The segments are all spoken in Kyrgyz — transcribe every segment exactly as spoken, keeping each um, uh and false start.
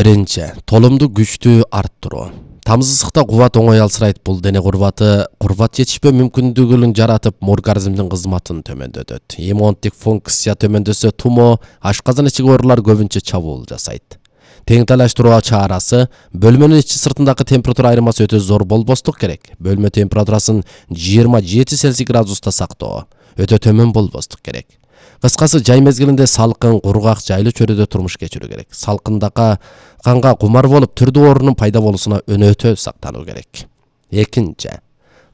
Биринчи, толумду күчтүү арттыруу. Тамыз ысыкта кубат оңой алсырайт. Бул дене курбаты курбат жетишпөө мүмкүндүгүн жаратып, организмдин кызматын төмөндөтөт. Иммундук функция төмөндөсө тумо, ашказан ичиги оорулар көбүнчө чабуул жасайт. Теңтайлаштыруу чарасы бөлмөнүн ичи сыртындагы температура айырмасы өтө зор болбостук керек. Бөлмө температурасын жыйырма жети Цельсий градуста сактоо, өтө төмөн болбостук керек. Кыскасы, жай мезгилинде салкын, кургак, жайлуу чөйрөдө турмуш кечирүү керек. Салкындакка канга кумар болуп, түрдүү оорунун пайда болуусуна өнөтө сактануу керек. Экинчи,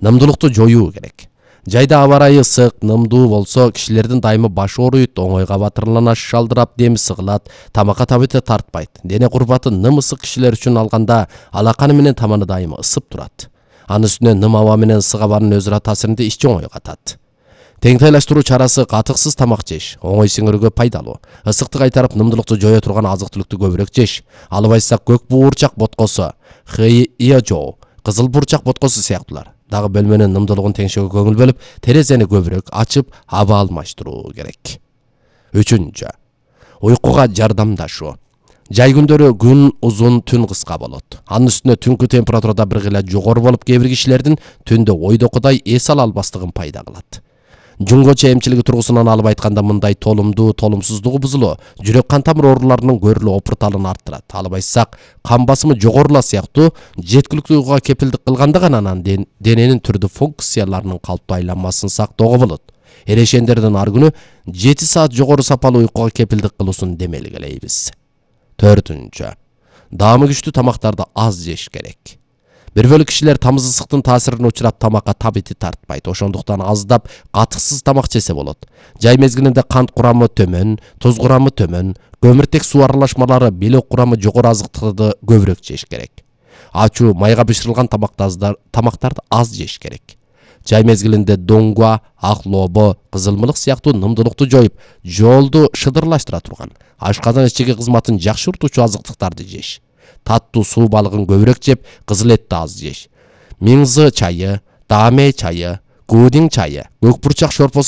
нымдуулукту жоюу керек. Жайда аба ырайы ысык, нымдуу болсо, кишилердин дайымы баш ооруйт, оңойго батырлана шалдырап, деми сыгылат, тамакка табыты тартпайт. Дене курбаты ным ысык кишилер үчүн алганда алаканы менен таманы дайымы ысып турат. Анын үстүнө ным аба менен ысык абанын өзара таасиринде ичи оңой катат. Теңтайлаштыруу чарасы катыксыз тамак жеш, оңой сиңирүүгө пайдалуу. Ысыкты кайтарып, нымдуулукту жое турган азык-түлүктү көбүрөөк жеш. Албайсак көк буурчак боткосу, хыйжоо, кызыл буурчак боткосу сыяктуулар. Дагы бөлмөнүн нымдуулугун теңшөөгө көңүл бөлүп, терезени көбүрөөк ачып, аба алмаштыруу керек. Үчүнчү, уйкуга жардамдашуу. Жай күндөрү күн узун, түн кыска болот. Анын үстүнө түнкү температурада бир кыйла жогору болуп, кээ бир кишилердин түндө ойдокудай эс ала албастыгын пайда кылат. Жунгочу эмчилиги тургусунан алып айтканда, мындай толумдуу толумсуздугу бузулуу, жүрөк кан тамыр ооруларынын көрүлүү опурталын арттырат. Албайсак, кан басымы жогорула сыяктуу жеткиликтүү уйкуга кепилдик кылганда гана анан дененин түрдүү функцияларынын калыптуу айланмасын сактоого болот. Эрешендердин ар күнү жети саат жогору сапалуу уйкуга кепилдик кылуусун демелгилейбиз. Төртүнчү, даамы күчтүү тамактарды аз жеш керек. Бир бөлүк кишилер тамыз ысыктын таасирине учурап, тамакка табити тартпайт. Ошондуктан аздап катыксыз тамак жесе болот. Жай мезгилинде кант курамы төмөн, туз курамы төмөн, көмүртек суу аралашмалары, белок курамы жогору азыктарды көбүрөөк жеш керек. Ачуу, майга бышырылган тамактарды аз жеш керек. Жай мезгилинде доңгуа, ак лобо, кызылмылык сыяктуу нымдуулукту жоюп, жоолду шыдырлаштыра турган, ашказан ичиги кызматын жакшыртуучу азыктыктарды жеш. Таттуу суу балыгын көбүрөөк жеп, кызыл этти аз жеш. Миңзы чайы, дааме чайы, куудин чайы, көк бурчак шорпосу